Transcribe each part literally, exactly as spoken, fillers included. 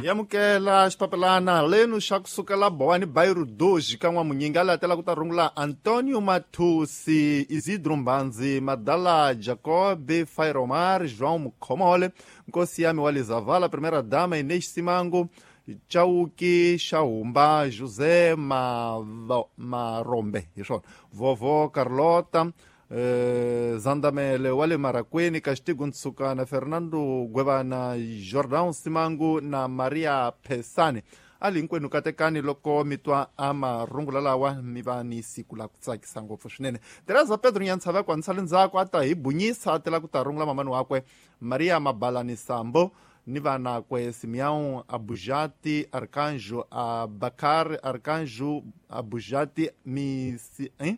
Yamukela xipapelana lenu xa kusukela Bowani Bairu Doji ka N'wamunyingi a latela ku ta rungula Antonio Mathusi, Isidro Mbanzi, Madala Jacob, Fairomar, João Mukhomole, Nkosi Yami wa Lizavala, Primeira Dama Inês Simango, Chauki Xahumba, José Marombe, hi swona, Vovó Carlota, eh, Zandamele wa le Marakweni, Castigo Ntsukana, Fernando Gwevana, Jordão Simangu na Maria Pesani. Ali hinkwenu katekani loko mi twa a marungula lawa mi va ni siku la ku tsakisa ngopfu swinene. Teresa Pedro Nyantsava kwa nsale ndzhaku a ta hi bunyisa a tela ku ta rungula mamani wakwe Maria Mabalani Sambo ni vanakwe Simeão Abujati, Arcanjo Abakar, Arcanjo Abujati, Misi, hein?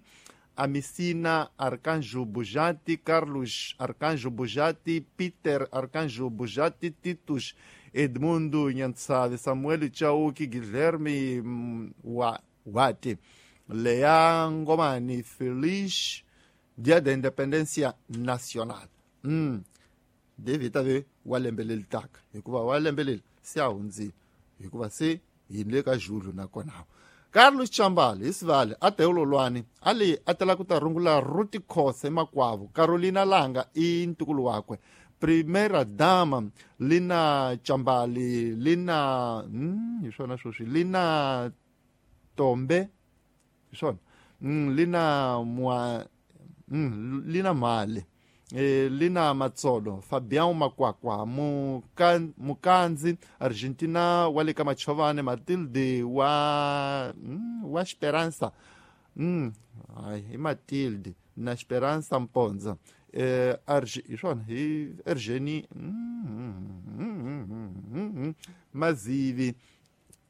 Amicina Arcanjo Bujati, Carlos Arcanjo Bujati, Peter Arcanjo Bujati, Titus Edmundo Nyantsave, Samuel Chauki, Guilherme Wati, Lea Ngomani, Feliz Dia da Independência Nacional. Mm. David ave wa lembe leri taka hikuva wa lembe leri se a hundzile hikuva se hi le ka Julho nakona. Carlos Chambale hi Sivale a teololwani a le a tela ku ta rungula Ruti Khose makwavo, Carolina Langa i ntukulu wakwe, Primeira Dama Lina Chambale, Lina mm, hi swona sweswi Lina Tombe hi swona mm, Lina mwa mm, Lina Male, Eh, Lina Matsolo, Fabião Makwakwa, Mukan, Mukanzi, Argentina wa le ka Machovane, Matilde wa mm, wa Esperança, mm, ai, i Matilde na Esperança Mponza, eh, Arge, hi swona hi Ergeni mm, mm, mm, mm, mm, Mazivi,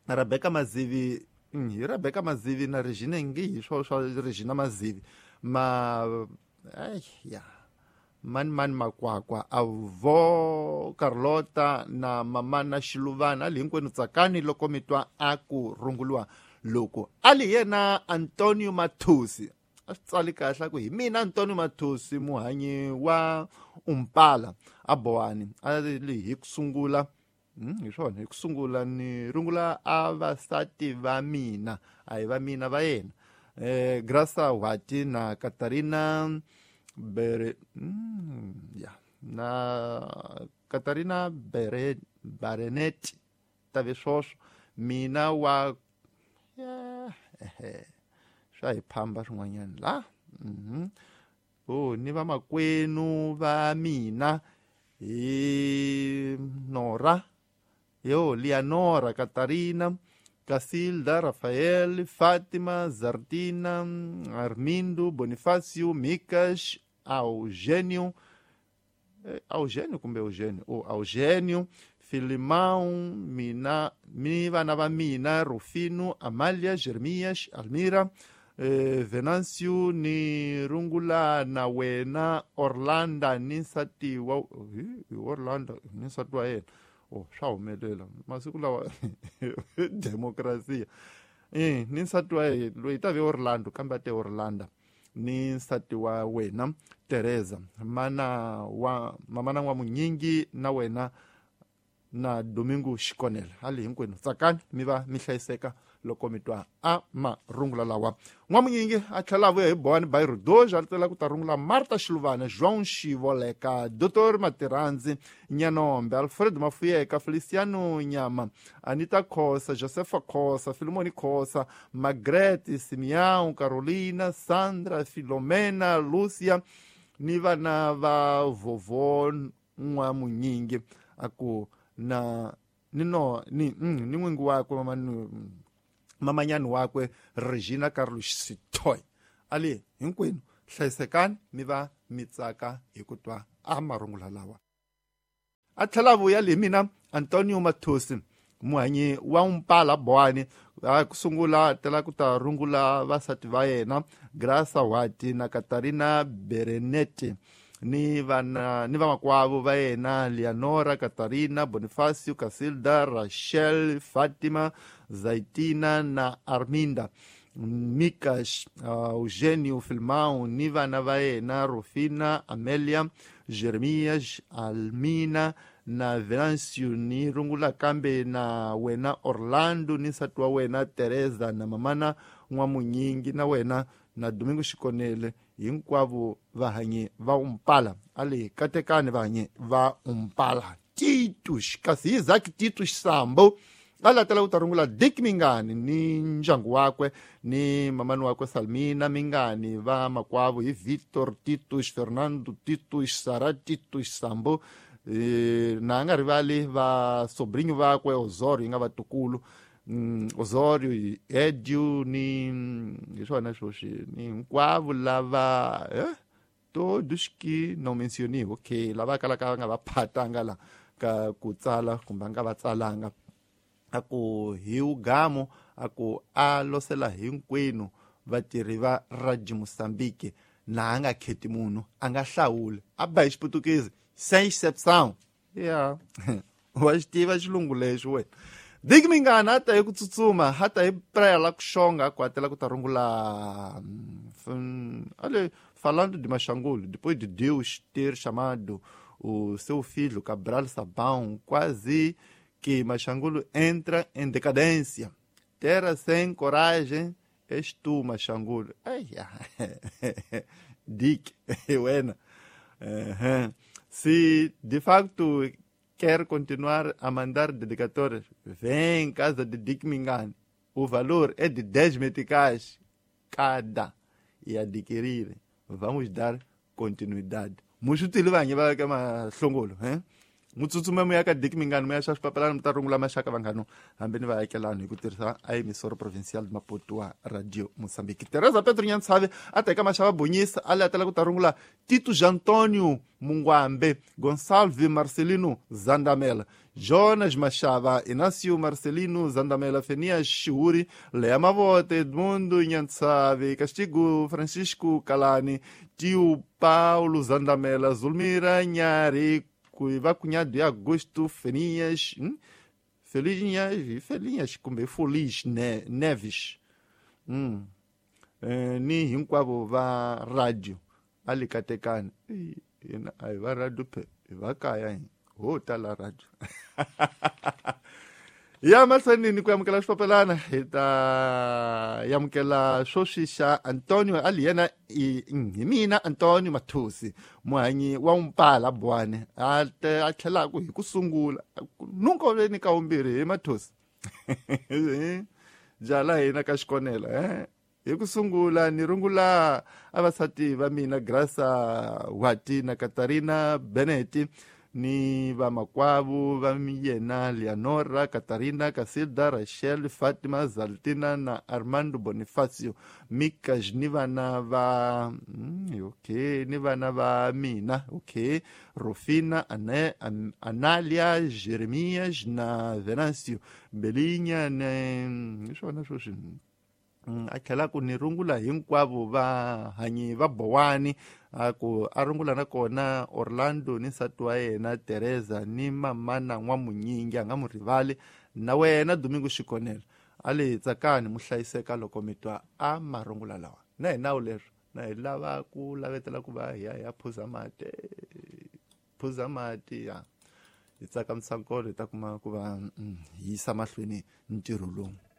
Rebecca Mazivi, mm, hi Rebecca Mazivi na Regina ngi hi swo swa Regina Mazivi ma ai ya mani mani Makwakwa, Avo Carlota na Mamana Xiluvana. Ali hinkwenu tsakani loko mi twa a ku runguliwa loko ali yena Antonio Mathusi a swi tsali kahle ku hi mina Antonio Mathusi muhanyi wa Umpala a Bowani a li hi ku sungula mm, hi swona hi ku sungula ni rungula a vasati va mina a hi va mina va yena eh, Graça Wati na Catarina Bere, mm, ya na Catarina Bere, Barenetti tave swoswo mina wa yeah, ehe swa hi phamba swin'wanyana la mm-hmm. Oh, ni vamakwenu va mina hi Nora yo Leonora, Catarina, Casilda, Rafael, Fátima, Zartina, Armindo, Bonifácio, Micas, Eugênio, Eugênio kumbe Eugênio, oh, Eugênio, Filimão, mina, mi vana va mina, Rufino, Amália, Jeremias, Almira, eh, Venâncio, ni rungula na wena, Orlando, ni nsati wa Orlando, ni nsati wa yena. Oh, swa humelela masiku lawa demokrasiya eh ni nsati wa loyi ta ve Orlando kambe a te Orlando ni nsati wa wena Teresa, mana wa mamana wa Munyingi na wena na Domingo Xikonela. Hali hinkwenu tsakani mi va mi hlayiseka loko mi twa a marungula lawa. N'wamunyingi a tlhela a vuya hi Bowani Bairu Doji a tela ku ta rungula Marta Xiluvana, João Xivoleka, Doctor Matirandzi Nyanombe, Alfredo Mafuyeka, Feliciano Nyama, Anita Khosa, Josefa Khosa, Filimoni Khosa, Margaret Simeão, Carolina, Sandra, Filomena, Lúcia ni vana va vovó N'wamunyingi a ku na ni no ni mm, ni n'wingi wakwe mama mamanyani wakwe Regina Carlos Sitoy. Ali hinkwenu hlayisekani mi va mi tsaka hi ku twa a marungula lawa. A tlhela vuya le mina Antonio Mathusi muhanyi wa Umpala Bowani a ku sungula tela ku ta rungula vasati va yena Graça Wati na Catarina Berenetti ni vana ni vamakwavo va yena Leonora, Catarina, Bonifacio, Casilda, Rachel, Fatima, Zaitina na Arminda, Micas, uh, Eugênio Filmão, ni vana va yena Rufina, Amélia, Jeremias, Almina na Venancio ni rungula kambe na wena Orlando ni nsati wa wena Teresa na mamana N'wamunyingi na wena na Domingo Xikonele hinkwavo vahanyi va Umpala ale katekani vahanyi va Umpala Titus kasi Isaac Titus Sambo alatela ku ta rungula Dick Mingani ni ndyangu wakwe ni mamani wakwe Salmina Mingani va makwavo hi Victor Titus Fernando Titus Sara Titus Sambo e, na nga rivali va sobrinho vakwe Osorio nga vatukulu mm, Osorio Edio ni hi swona swoswi ni hinkwavo lava eh? Todos que não mencionei okay lava kalaka va nga va phatanga la ka ku tsala kumbe nga va tsalanga aku hi ugamo aku a losela hinkwenu vatirhi va Radio Mozambique na a nga kheti munhu a nga hlawuli a ba hi xiputukezi sem excepção yeah wa xi tiva xilungu lexi wena Dick Mingani a ta hi ku tsutsuma a ta hi praia la ku xonga ku hatela ku ta rungula ale falando de Machangulo depois de Deus ter chamado o seu filho Cabral Sabão quase que Machangulo entra em decadência. Terra sem coragem és tu, Machangulo. Ai, Dick, wena. Uhum. Se de facto quer continuar a mandar dedicatórias, vem em casa de Dick Mingani. O valor é de dez meticais cada. E adquirir. Vamos dar continuidade. Muxutili vanyi va ka mahlongolo, hein? Mutsutsume mu ya ka Dick Mingani mu ya xa swipapelana mi ta rungula maxaka vanghano hambi ni vaakelani hi ku tirhisa a emissora provincial de Maputo wa Radio Mozambique. Teresa Pedro Nyantsave a teka maxava Bonyisa a latela ku ta rungula Tito Antonio Mungwambe Gonçalves Marcelino Zandamela Jonas Machava Inácio Marcelino Zandamela Fenias Chiuri Lea Mavote Edmundo Nyantsave Castigo Francisco Calani Tio Paulo Zandamela Zulmira Nhari va cunhado de Augusto Fenias, hum? Felinhas, Felinhas, kumbe Feliz ne, Neves, hum. Eh, ni hinkwavo va radio ali katekani ai va radio pe va kaya ho tala radio ya mahlweni ku amukela swipapelana hi ta yamukela swoswi xa Antonio ali yena hi mina Antonio Mathusi muhanyi wa Umpala Bwane a a tlhelaku hi ku sungula nunca ve ni ka vumbirhi hi Mathusi jala hina ka xikonela eh hi ku sungula ni rungula avasati va mina Graça Wati na Katarina Benetti ni vamakwavo va yena Leonora Katarina Casilda Rachel Fatima Zaltina na Armando Bonifacio Mikas ni vana va mm, okay ni vana va mina okay Rufina Ane, An, Analia Jeremias na Venancio Belinha ne swona swoswi a tlhela ku ni rungula hinkwavo va hanyi va Bowani a ku a rungula na kona Orlando ni nsati wa yena Teresa ni mamana N'wamunyingi a nga mu rivali na wena Domingo Xikonela a le tsakani mu hlayiseka loko mi twa a marungula lawa na hi nawu leswo na hi lava ku lavetela ku va hi ya hi ya phuza mati phuza mati ya hi tsakamisa nkolo hi ta kuma ku va yisa mahlweni ntirho lowu.